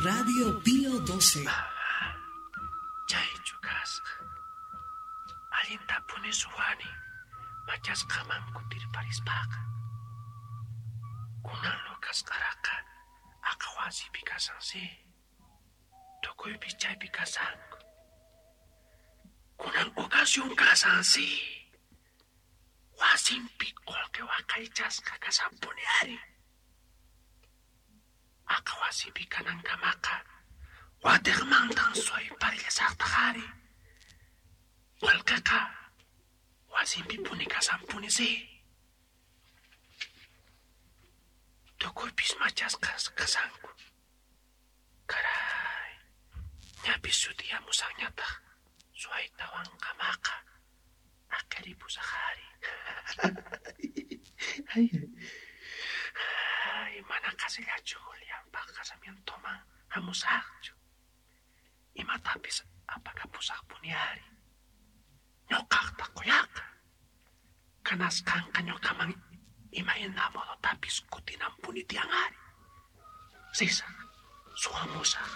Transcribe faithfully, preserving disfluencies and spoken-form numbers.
Radio Pío doce. Chaychu kasqa. Allintapuni suwani machasqaman kutirparispaqa. Kunan Lucasqaraqa aqa wasipi kasansi. Tukuypis chaypi kasanku. Kunan ocasión kasansi. Wasinpi qolqe waqaychasqa kasanpuni ari. Aqa wasipi kanankamaqa watiqmantan suwayparillasaqtaq ari. Qolqeqa wasinpipuni kasanpuni si. Tukuypis machasqas kasanku. Caray, ñapis sutiyamusanñataq suwaytawankamaqa aqiripusaq ari. Ay, ay, mana qhasillachu Julianpaq casamientoman hamusaqchu. Imatapis apakapusaqpuni ari. Ñuqaqta quyaqa. Kanasqanqa ñuqaman imayna modotapis kutinanpuni tiyan ari. Risaq, suwamusaq.